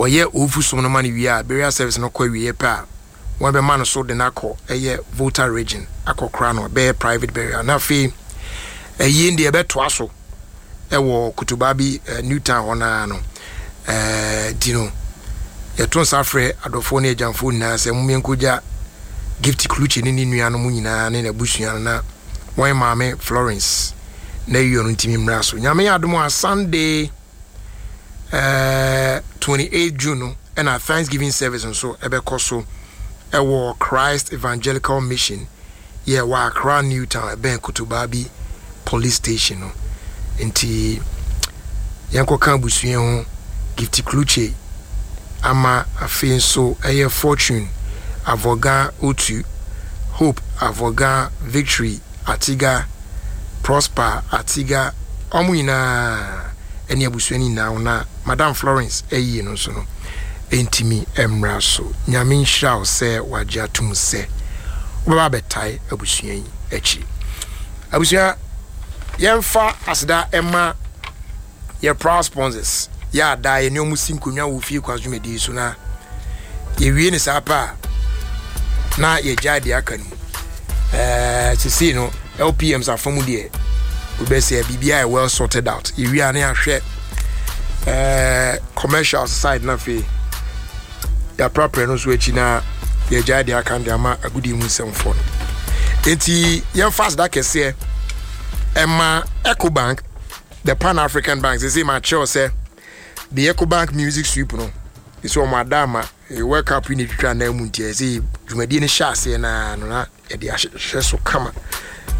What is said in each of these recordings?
Wɔyɛ owufo som no ma no wie a, burial service no kɔ awieɛ pɛ a, wɔbɛma no so de no akɔ ɛyɛ Volta Region akɔkora no, ɛbɛyɛ private burial. Na afei ɛyie deɛ ɛbɛtoa so ɛwɔ Kotobabi New Town hɔ naa no. Nti no yɛto nsa frɛ adɔfoɔ ne agyamfoɔ nyinaa sɛ mommɛnkɔgya Gift Kluche ne ne nuanom nyinaa ne n'abusua no na wɔn maame Florence na ayie no ntumi mmra so. Nyame yɛ adom a, Sunday 28 June no ɛna Thanksgiving service nso ɛbɛkɔ so ɛwɔ Christ Evangelical Mission yɛ wɔ Accra New Town, ɛbɛn Kotobabi Police Station no. Nti yɛnkɔka abusua ho, Gift Kluche ama, afei nso ɛyɛ Fortune Avoga Otu, Hope Avoga, Victory Atiga, Prosper Atiga, ɔmo nyinaa ɛne abusua no nyinaa ho na Madam Florence ɛyie no nso no ɛntumi mmra so. Nyame nhyira wo sɛ wagye atom sɛ wobɛba abɛtae abusua yi akyi. Abusua, yɛmfa aseda ɛma yɛ proud sponsors yɛ ada yɛ ne ɔmo si nkonnwa wɔ fie kwan dwumadie so, na yɛwie ne saa pa a na yɛgyae deɛ aka no mu. Sesei no LPMs afa mu deɛ, wobɛsɛ biribiara yɛ well sorted out. Yɛwie a ne yɛahwɛ commercial side, na afei yɛaprapra no nso akyi na yɛgyae deɛ aka no de ama agodie mu nsɛmfoɔ no. Enti yɛmfa aseda kɛseɛ ɛma Ecobank, the Pan African Bank. Sesei makyerɛw sɛ the Ecobank Music Sweep no ɛsɛ ɔmo ada ama World Cup yi na ɛtwitwa nan mu, nti ɛsɛ dwumadie no hyɛ aseɛ naa no na yɛde ahyehyɛ so kama.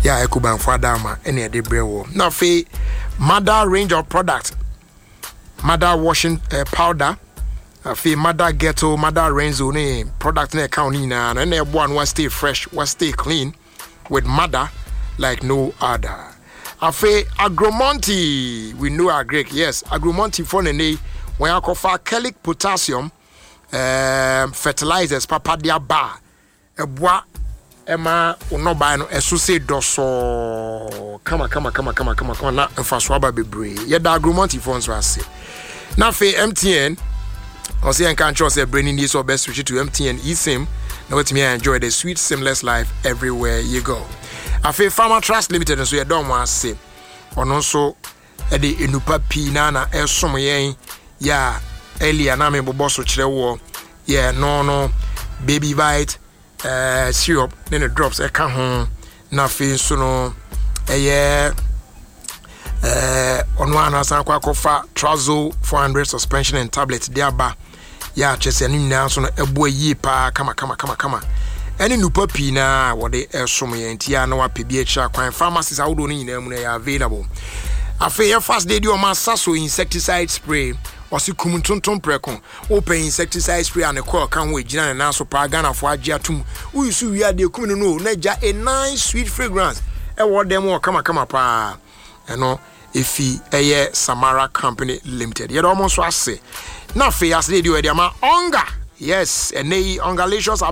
Yɛ a Ecobank fo ada ama ɛna yɛde brɛ wɔ. Na afei Mother range of product, Mother washing powder, afei Mother Ghetto, Mother Renzo ne product na ɛka ho no nyinaa no ɛna ɛboa no wa stay fresh, wa stay clean with Mother like no other. Afei Agromonti, we know agric, yes, Agromonti fo ne wɔn akɔfa Kelic potassium fertilizers papa de aba a ɛboa ɛma nnɔbae no ɛso se dɔsɔɔ kama kama kama kama kama kama na mfaso aba bebree. Yɛda Agromonti fo nso ase. Na afei MTN ɔsɛ yɛn ka nkyerɛ sɛ berɛ ni nie sɛ ɔbɛ switch to MTN eSIM na watumi enjoy the sweet seamless life everywhere you go. Afei Pharma Trust Limited nso yɛdɔ wɔn ase. Ɔno nso ɛde nnupa pii na ɛsom yɛn yɛ a earlier na mebobɔ so kyerɛ wɔ yɛ no Baby Vite syrup ne drops ɛka ho. Na afei nso no ɛyɛ ɔno a nasan akɔ akɔfa Trazo 400 suspension and tablet de aba yɛ akyɛ sɛ ne nyinaa nso no ɛboa yie paa kama kama kama kama ɛne nnupa pii na wɔde ɛsom yɛn. Nti a na wapɛ bi akyerɛ akwan, pharmacies ahodoɔ no nyinaa mu no ɛyɛ available. Afei yɛ fast de di ɔma asa so insecticide spray, ɔse kum ntontom prɛko. Wopɛ insecticide spray a ne kɔɔ ka ho, egyina ne nan so paa, Ghanafoɔ agye atom, woyi so wie adeɛ kum no na gya a nice sweet fragrance ɛwɔ dan mu wɔ kamakama paa. Ɛno efi ɛyɛ Samara Company Limited, yɛde wɔn nso ase. Na afei ase de di ɔyɛ de ama Onga, yes, ɛnɛ yi Ongalicious.